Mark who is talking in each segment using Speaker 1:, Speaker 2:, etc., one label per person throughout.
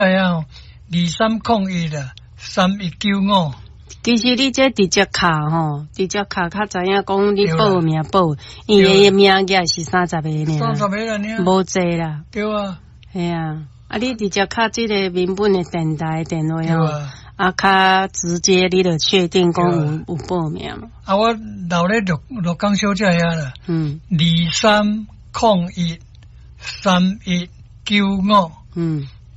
Speaker 1: 遐2301啦，3195。
Speaker 2: 其實你這直接敲吼，直接敲較知影講你報名報，因為伊名額是三十個爾，
Speaker 1: 三十個爾，
Speaker 2: 無濟啦。
Speaker 1: 對啊。
Speaker 2: 係啊，啊你直接敲這個民本的電台電話吼，啊較直接你就確定講有報名嘛。
Speaker 1: 啊，我留咧鹿港小姐遐啦。23013195。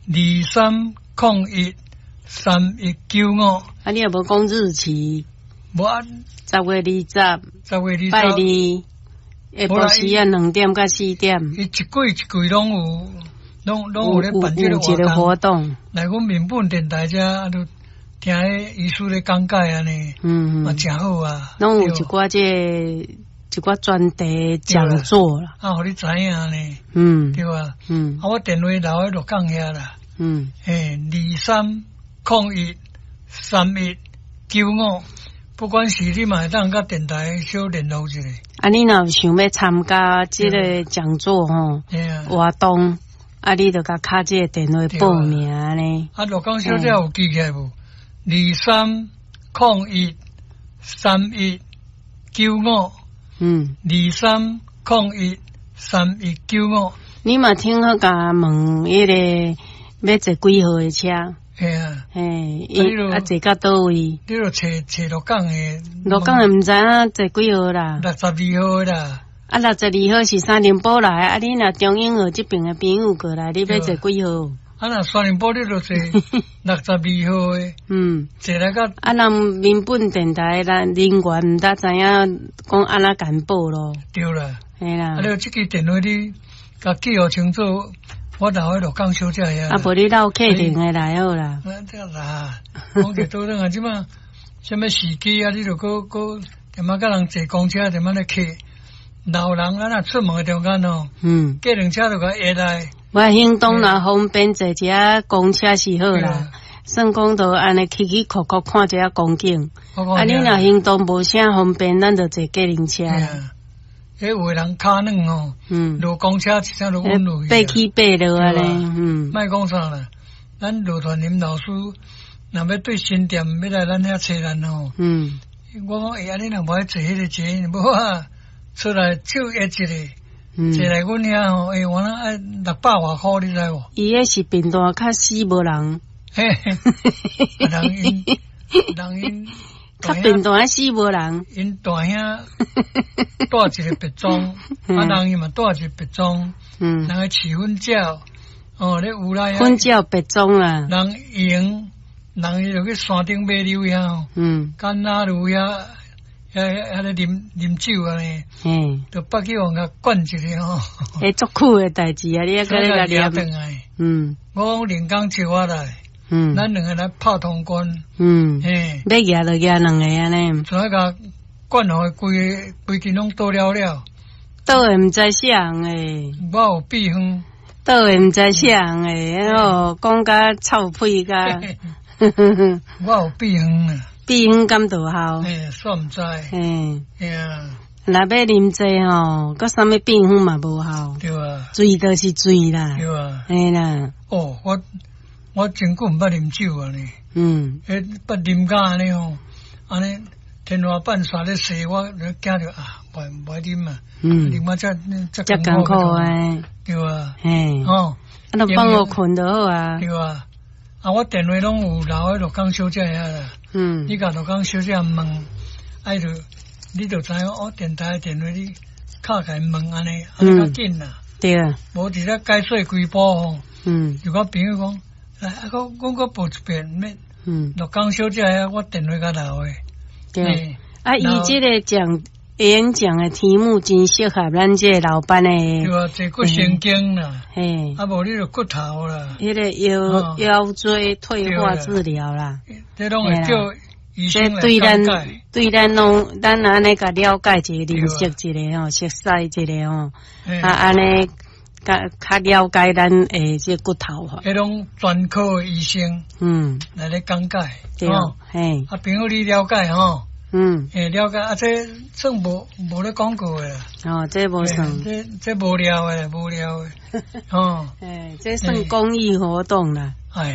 Speaker 1: 23013195。
Speaker 2: 啊，你也無講日期？
Speaker 1: 無啊。
Speaker 2: 10月20，10
Speaker 1: 月20，
Speaker 2: 拜二，下晡時啊2點到4點。
Speaker 1: 伊一季一季攏有，攏有咧辦這個
Speaker 2: 活動。
Speaker 1: 來阮民本電台遮，啊，就聽彼醫師咧講解按呢，嘛誠好啊。
Speaker 2: 攏有一寡這一寡專題講座啦。
Speaker 1: 啊，予你知影呢。對啊。啊，我電話留佇鹿港遐啦。嘿，23013195，不管是你嘛會當佮電台小聯絡一下。
Speaker 2: 啊，你若有想欲參加這個講座吼，活動，啊，你就共敲這個電話報名呢。
Speaker 1: 啊，鹿港小姐有記起來無？23013195。23013195。
Speaker 2: 你嘛聽好共問彼個欲坐幾號的車？
Speaker 1: 嘿啊，
Speaker 2: 嘿，啊坐到佗位？
Speaker 1: 你著揣揣鹿港的，
Speaker 2: 鹿港的毋知影坐幾號啦？62
Speaker 1: 號的啦。
Speaker 2: 啊，62號是三重埔來，啊，你若中永和這邊的朋友過來，你欲坐幾號？
Speaker 1: 啊，若三重埔你著坐62號的。坐來到。
Speaker 2: 啊，人民本電台咱人員毋知知影講按怎共報咯？
Speaker 1: 對啦。
Speaker 2: 嘿啦。
Speaker 1: 啊，你這支電話你共記予清楚。我留佇鹿港小姐遐。
Speaker 2: 啊，無你落客廳的來好啦。
Speaker 1: 啊，這啦，講者倒轉啊，這馬啥物時機啊？你著閣閣踮仔佮人坐公車，踮仔咧客老人啊，若出門的中間哦，計程車就共壓來。
Speaker 2: 我行動若方便坐一下公車是好啦，算講就按呢起起闊闊看一下風景。啊，你若行動無啥方便，咱就坐計程車。
Speaker 1: 彼有的人跤軟吼，落公車一聲就穩落去。
Speaker 2: 爬起爬落按呢，
Speaker 1: 莫講啥啦，咱羅傳林老師若欲對新店欲來咱遐揣咱吼，我講欸，按呢若無愛坐彼個捷運，無啊，出來手壓一个，坐來阮遐吼，欸，原來愛六百外箍，你知無？
Speaker 2: 伊彼是貧惰較死無人。
Speaker 1: 嘿，人𪜶人𪜶。
Speaker 2: 較貧惰死無人。
Speaker 1: 𪜶大兄帶一個別莊，啊人伊嘛帶一個別莊，人去飼粉鳥，哦，咧有來
Speaker 2: 粉鳥別莊啦。
Speaker 1: 人閒，人伊就去山頂馬溜遐，干那路遐，遐遐咧啉啉酒按呢，就北去予人共灌一个吼。
Speaker 2: 欸，足久的代誌啊，你猶閣咧共念。
Speaker 1: 來。我講林剛招我來。咱兩个來拍通關。嘿，
Speaker 2: 欲舉就舉兩个按呢。
Speaker 1: 怎啊共灌予規規間攏倒了了。
Speaker 2: 倒的毋知啥人的。
Speaker 1: 我有秘方。
Speaker 2: 倒的毋知啥人的，哦，講甲臭屁甲。
Speaker 1: 我有秘方啊。
Speaker 2: 秘方敢著效？
Speaker 1: 嘿，煞毋知。嘿啊。
Speaker 2: 若欲啉濟吼，閣啥物秘方嘛無效。
Speaker 1: 對啊。
Speaker 2: 醉就是醉啦。
Speaker 1: 對啊。
Speaker 2: 嘿啦。
Speaker 1: 哦，我真久毋捌啉酒啊呢。彼捌啉甲按呢吼，按呢天花板煞咧踅，我就驚著啊，袂愛啉啊。啉啊遮遮
Speaker 2: 艱苦欸。
Speaker 1: 對啊。
Speaker 2: 嘿。
Speaker 1: 哦。
Speaker 2: 啊，就放予睏就好啊。
Speaker 1: 對啊。啊，我電話攏有留佇鹿港小姐遐啦。你共鹿港小姐問，啊，就你就知影我電台電話你敲共𪜶問按呢，按呢較緊啦。
Speaker 2: 對啊。
Speaker 1: 無佇咧解說規晡吼。有個朋友講。來，啊，閣阮閣報一遍，欲鹿港小姐遐，我電話共留的。
Speaker 2: 對，啊，伊這個講演講的題目真適合咱這個老班的。
Speaker 1: 對啊，坐骨神經啦。
Speaker 2: 嘿。
Speaker 1: 啊，無你就骨頭啦。
Speaker 2: 彼個腰椎退化治療啦。
Speaker 1: 這攏會叫醫生來講解。
Speaker 2: 對咱攏，咱按呢共了解一下，認識一下吼，熟悉一下吼，啊，按呢。較較了解咱的這骨頭吼，
Speaker 1: 彼種專科的醫生，來咧講解，
Speaker 2: 對，嘿，
Speaker 1: 啊，朋友你了解吼，欸，了解啊，這算無咧廣告的啦。
Speaker 2: 哦，這無算。
Speaker 1: 這無聊的，無聊的。哦。
Speaker 2: 欸，這算公益活動啦。
Speaker 1: 哎呀。